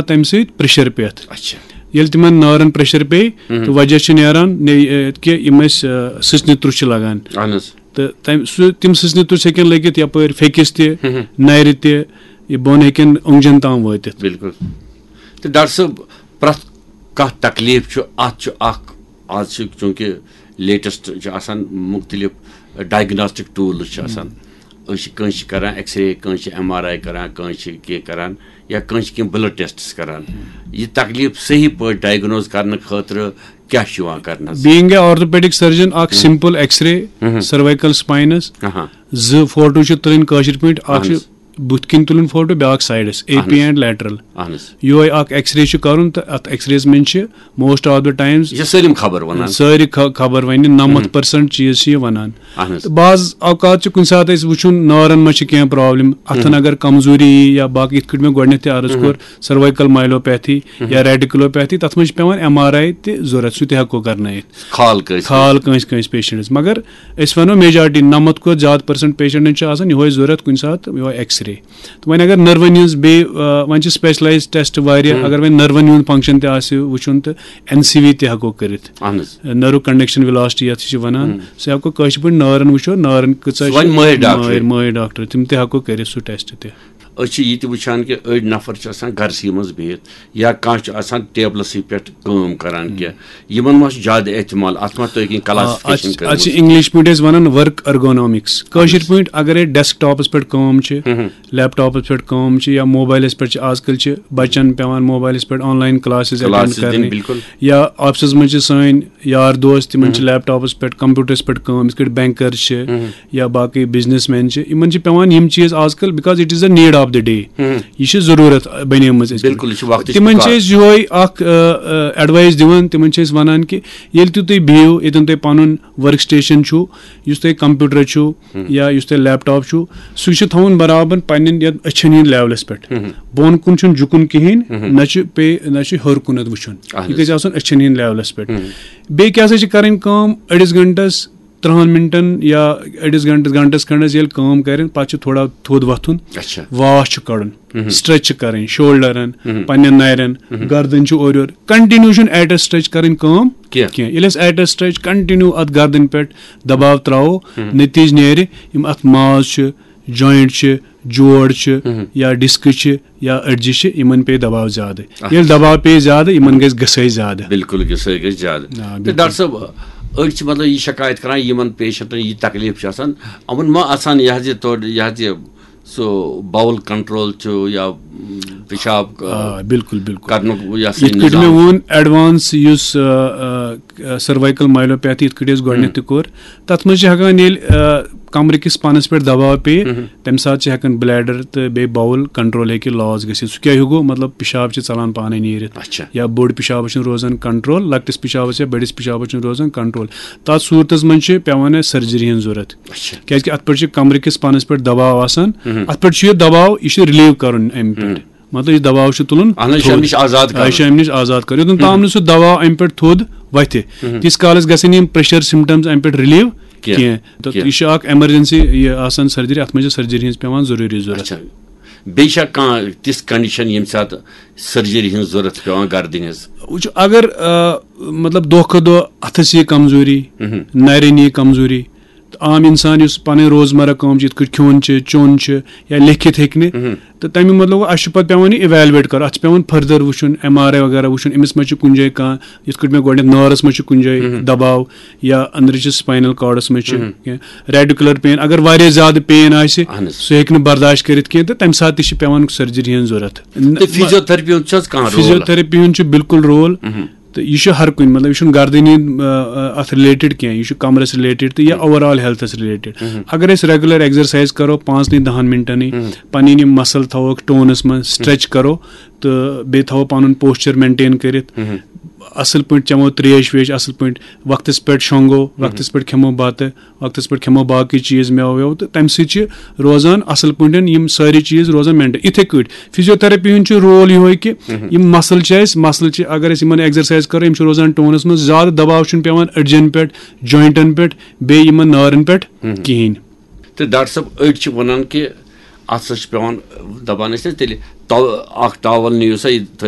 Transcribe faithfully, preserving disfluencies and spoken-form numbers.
تَمہِ سۭتۍ پریشر پٮ۪تھ۔ اچھا۔ ییٚلہِ تِمن نارن پریشر پیٚیہِ، مہم۔ تہٕ وجہ چھُ نیران نے-، کہِ یِم ٲسۍ، آ، سٕژنہِ تُرٛس چھِ لگان۔ اہن حظ۔ تہٕ تَمہِ سُہ تِم سٕژنہِ تُرٛس ہیٚکن لٔگِتھ یپٲرۍ پھیٚکِس تہِ، مہم۔ نرِ تہِ، یہِ بۄن ہیٚکن اوٚنٛگجن تام وٲتِتھ۔ بِلکُل۔ تہٕ ڈاکٹر صٲب، پرٛٮ۪تھ کانٛہہ تکلیٖف چھُ، اَتھ چھُ اکھ، آز چھُ چوٗنٛکہِ لیٹسٹ چھُ آسان، مُختٔلِف ڈائگناسٹک ٹوٗلٕز چھِ آسان۔ أسۍ چھِ کٲنٛسہِ چھِ کران ایکس رے، کٲنٛسہِ چھِ ایم آر آی کران، کٲنٛسہِ چھِ کینٛہہ کران، یا کٲنٛسہِ چھِ کینٛہہ بلڈ ٹیسٹس کران۔ یہِ تکلیٖف صحیح پٲٹھۍ ڈائگنوز کرنہٕ خٲطرٕ کیٛاہ چھُ یِوان کرنہٕ حظ؟ Being a orthopedic surgeon، اکھ سمپل ایکس رے، مہم۔ سروائیکل سپاینس، اہاں۔ زٕ فوٹو چھِ تُلٕنۍ کٲشِر پٲٹھۍ، اکھ چھُ اہن حظ۔ بُتھِ کِنۍ تُلُن فوٹو، بیٛاکھ سایڈس، اے اہن پی حظ۔ And lateral. اہن حظ۔ یِہوے اکھ ایکس رے چھُ کرُن، تہٕ اتھ ایکس ریز منٛز چھِ موسٹ آف دا ٹائمز یہِ چھِ سٲلِم خبر وَنان۔ سٲری خ-، خبر ونہِ، نَمَتھ پٔرسنٹ چیٖز چھِ یہِ ونان۔ اہن حظ۔ تہٕ بعض اوقات چھِ کُنہِ ساتہٕ أسۍ وٕچھُن نارن منٛز چھِ کینٛہہ پرابلم، اتھن اگر کمزوری یی یا باقٕے، یِتھ کٲٹھۍ مےٚ گۄڈٕنیتھ تہِ عرض کوٚر، سروائیکل مایلوپیتھی یا ریڈیکلوپیتھی، تتھ منٛز چھِ پٮ۪وان ایم آر آی تہِ ضروٗرت، سُہ تہِ ہٮ۪کو کرنٲیِتھ۔ خال کٲنٛسہِ۔ خال کٲنٛسہِ کٲنٛسہِ پیشنٹس، مگر أسۍ ونو میجارٹی، نَمَتھ کھۄتہٕ زیادٕ پٔرسنٹ پیشنٹن چھُ آسان یِہوے ضروٗرت کُنہِ ساتہٕ، یِہوے ایکس رے۔ تہٕ وۄنۍ اگر نٔروَن ہٕنٛز بیٚیہِ، آ، وۄنۍ چھِ اسپیشلایز ٹیسٹ واریاہ، اگر وۄنۍ نٔروَن ہُنٛد فنکشن تہِ آسہِ وٕچھُن، تہٕ این سی وی تہِ ہٮ۪کو کٔرِتھ۔ اہن حظ۔ نٔرو کنڈکشن ویلاسٹی یتھ چھِ ونان، سُہ ہٮ۪کو کٲشِر پٲٹھۍ نارن وٕچھو، نارن کۭژاہ سُہ چھِ۔ وۄنۍ مٲہِر ڈاکٹرٕے۔ مٲہِر، مٲہِر ڈاکٹر، تِم تہِ ہٮ۪کو کٔرِتھ سُہ ٹیسٹ تہِ۔ أسۍ چھِ یہِ تہِ وٕچھان کہِ أڑۍ نفر چھِ آسان گرسٕے منٛز بِہِتھ، یا کانٛہہ چھُ آسان ٹیبلَسٕے پٮ۪ٹھ کٲم کران کینٛہہ، یِمن ما چھُ زیادٕ احتمال، اتھ ما تُہۍ کینٛہہ آ، اتھ کلاسفکیشن چھِ، اتھ چھِ کٔرمٕژ؟ انگلش پٲٹھۍ أسۍ ونان ورک ارگونامکس، کٲشِر پٲٹھۍ اگرے ڈیسک ٹاپس پٮ۪ٹھ کٲم چھِ، لیپ ٹاپس پٮ۪ٹھ کٲم چھِ، یا موبایلس پٮ۪ٹھ چھِ، آز کل چھِ بچن پٮ۪وان موبایلس پٮ۪ٹھ آن لاین کلاسز اٹینڈ کلاسز دِنۍ، کرنہِ، بِلکُل۔ یا آفسس منٛز چھِ سٲنۍ یار دوست، تِمن چھِ لیپ ٹاپس پٮ۪ٹھ، کمپیوٹرس پٮ۪ٹھ کٲم، یِتھ کٲٹھۍ بینکر چھِ یا باقٕے بزنس مین چھِ، یِمن چھِ پٮ۪وان یِم چیٖز آز کل، because it is the need of the day، یہِ چھِ ضروٗرت بنے مٕژ أسۍ۔ بِلکُل، یہِ چھُ وقتٕچ تِمن پُکار۔ چھِ أسۍ یِہوے اکھ ایڈوایس دِوان، تِمن چھِ أسۍ ونان کہِ ییٚلہِ تہِ تُہۍ بِہِو، ییٚتٮ۪ن تۄہہِ پنُن ورک سٹیشن چھُ، یُس تۄہہِ کمپیوٹر چھُ یا یُس تۄہہِ لیپ ٹاپ چھُ، سُہ چھُ تھاوُن برابر پننٮ۪ن یتھ أچھن ہٕنٛدۍ لیولس پٮ۪ٹھ۔ بۄن کُن چھُنہٕ جُکُن کِہینۍ، نہ چھُ پے، نہ چھُ ہیوٚر کُنتھ وٕچھُن۔ اہن یہِ حظ۔ گژھِ آسُن أچھن ہٕنٛدۍ لیولس پٮ۪ٹھ۔ بیٚیہِ کیٛاہ سا چھِ کرٕنۍ کٲم؟ أڑِس گھنٹس، ترٛہن منٹن یا أڑِس گھنٹس، گھنٹس کھنڈس ییٚلہِ کٲم کرن، پتہٕ چھُ تھوڑا تھوٚد وۄتھُن، اچھا۔ واش چھُ کڑُن، سٹریچ چھِ کرٕنۍ، شولڈرن، پننٮ۪ن نرٮ۪ن، گردن چھُ اورٕ یورٕ۔ کنٹِنیو چھُنہٕ ایٹ اے سٹریچ کرٕنۍ کٲم کینٛہہ۔ کینٛہہ۔ ییٚلہِ أسۍ ایٹ اے سٹریچ کنٹِنیو اتھ گردن پٮ۪ٹھ دباو تراوو، نتیجہٕ نیرِ یِم اتھ ماز چھِ، جوینٹ چھِ، جوڑ چھِ، یا ڈسک چھِ، یا أڈجہِ چھِ، یِمن پیٚیہِ دباو زیادٕ۔ ییٚلہِ دباو پیٚیہِ زیادٕ، یِمن گژھِ گسٲے زیادٕ۔ بِلکُل، گسٲے گژھِ زیادٕ۔ آ، تہٕ بِلکُل۔ ڈاکٹر صٲب، أڑۍ چھِ مطلب یہِ شکایت کران، یِمن پیشنٹن یہِ تکلیٖف چھُ آسان، یِمن ما آسان یہِ حظ یہِ تورٕ یہِ حظ یہِ سُہ باول کنٹرول چھُ یا، م، پِشاب، آ، بِلکُل، بِلکُل۔ کرنُک یہِ ہسا یہِ یِتھ کٲٹھۍ مےٚ نظام؟ ووٚن، ایڈوانس یُس، آ، آ، سروائیکل مایلوپیتھی، یِتھ کٲٹھۍ أسۍ گۄڈٕنیتھ تہِ کوٚر، تَتھ منٛز چھِ ہٮ۪کان ییٚلہِ، آ، کمرٕ کِس پَنَس پٮ۪ٹھ دباو پیٚیہِ، تَمہِ ساتہٕ چھِ ہٮ۪کان بلیڈر تہٕ بیٚیہِ باول کنٹرول ہیٚکہِ لاس گٔژھِتھ۔ سُہ کیٛاہ ہیوٗ گوٚو؟ مطلب، پِشاب چھِ ژَلان پانَے نیٖرِتھ۔ اچھا۔ یا بوٚڑ پِشاب چھُنہٕ روزان کنٹرول، لۄکٹِس پِشابَس یا بٔڑِس پِشابَس چھُنہٕ روزان کنٹرول۔ تَتھ صوٗرتَس منٛز چھِ پٮ۪وان اَسہِ سرجری ہٕنٛز ضوٚرَتھ۔ اچھا۔ کیٛازِکہِ اَتھ پٮ۪ٹھ چھِ کمرٕ کِس پَنَس پٮ۪ٹھ دباو آسان۔ اَتھ پٮ۪ٹھ چھُ یہِ دباو، یہِ چھُ رِلیٖو کَرُن اَمہِ پٮ۪ٹھ۔ مطلب، یہِ دباو چھُ تُلُن اہن حظ، یہِ چھُ تھوٚد۔ اَمہِ نِش آزاد آ، کَرُن۔ یہِ چھُ اَمہِ نِش آزاد کَرُن۔ یوٚتَن تام نہٕ سُہ دباو اَمہِ پٮ۪ٹھ تھوٚد وَتھِ، تیٖتِس کالَس گژھن یِم پریشر سمپٹمز اَمہِ پٮ۪ٹھ رِلیٖو کینٛہہ۔ کینٛہہ۔ تہٕ کینٛہہ۔ یہِ چھُ اکھ ایمرجنسی، یہِ آسان سرجری، اَتھ منٛز چھِ سرجری ہٕنٛز پٮ۪وان ضروٗری ضوٚرَتھ۔ اچھا۔ بیٚیہِ چھا کانٛہہ تِژھ کنڈیشن ییٚمہِ ساتہٕ سرجری ہٕنٛز ضوٚرَتھ چھِ پٮ۪وان گردنہِ ہٕنٛز؟ وٕچھِو، اگر، آ، مطلب، دۄہ کھۄتہٕ دۄہ اَتھَس یی کمزوٗری، نَرٮ۪ن یی کمزوٗری، تہٕ عام اِنسان یُس پَنٕنۍ روزمرہ کٲم چھِ، یِتھ کٲٹھۍ کھیوٚن چھِ، چیوٚن چھِ یا لیکھِتھ ہیٚکہِ نہٕ، تہٕ تَمہِ مطلب گوٚو، اَسہِ چھُ پَتہٕ پٮ۪وان یہِ evaluate کَرُن، اَتھ چھُ پٮ۪وان further وٕچھُن، ایم آر آی وغیرہ وٕچھُن، أمِس ما چھُ کُنہِ جایہِ کانٛہہ، یِتھ کٲٹھۍ مےٚ گۄڈٕنٮ۪تھ نارَس منٛز چھُ کُنہِ جایہِ دباو یا أنٛدرٕ چھِ spinal cordس منٛز چھِ کینٛہہ radicular pain۔ اگر واریاہ زیادٕ pain آسہِ، اہن حظ۔ سُہ ہیٚکہِ نہٕ برداشت کٔرِتھ کینٛہہ، تہٕ تَمہِ ساتہٕ تہِ چھِ پٮ۪وان سرجری ہٕنٛز ضوٚرَتھ۔ تہٕ فیزیوتھرپی ہُنٛد چھُ حظ کانٛہہ رول؟ فیزیوتھرپی ہُنٛد چھُ بالکل رول۔ تہٕ یہِ چھُ ہر کُنہِ، مطلب، یہِ چھُنہٕ گردنی، آ، آ، اَتھ related کینٛہہ، یہِ چھُ کمرَس related تہٕ یا overall healthس related۔ اگر أسۍ regular exercise کرو پانٛژنٕے دَہَن منٹَنٕے، پَنٕنۍ یِم muscle تھاووکھ ٹونَس منٛز، stretch کرو تہٕ بیٚیہِ تھاوو پَنُن posture maintain کٔرِتھ، اَصٕل پٲٹھۍ چٮ۪مو ترٛیش ویش اَصٕل پٲٹھۍ، وقتَس پٮ۪ٹھ شۄنٛگو، وقتَس پٮ۪ٹھ کھٮ۪مو بَتہٕ، وقتَس پٮ۪ٹھ کھٮ۪مو باقٕے چیٖز، مٮ۪وٕ وٮ۪وٕ، تہٕ تَمہِ سۭتۍ چھِ روزان اَصٕل پٲٹھۍ یِم سٲری چیٖز روزان maintain۔ یِتھَے کٲٹھۍ فیزیوتھرپی ہُنٛد چھُ رول یِہوٚے کہِ یِم muscle چھِ اَسہِ، muscle چھِ، اگر أسۍ یِمَن exercise کَرو، یِم چھِ روزان ٹونَس منٛز، زیادٕ دباو چھُنہٕ پٮ۪وان أڈجَن پٮ۪ٹھ، jointن پٮ۪ٹھ، بیٚیہِ یِمَن نارَن پٮ۪ٹھ کِہیٖنۍ۔ تہٕ ڈاکٹر صٲب، أڑۍ چھِ وَنان کہِ اتھ سۭتۍ چھُ پٮ۪وان، دپان ٲسۍ نہ تیٚلہِ، تو-، اکھ ٹاول نِیِو سا، یہِ تھٲیِو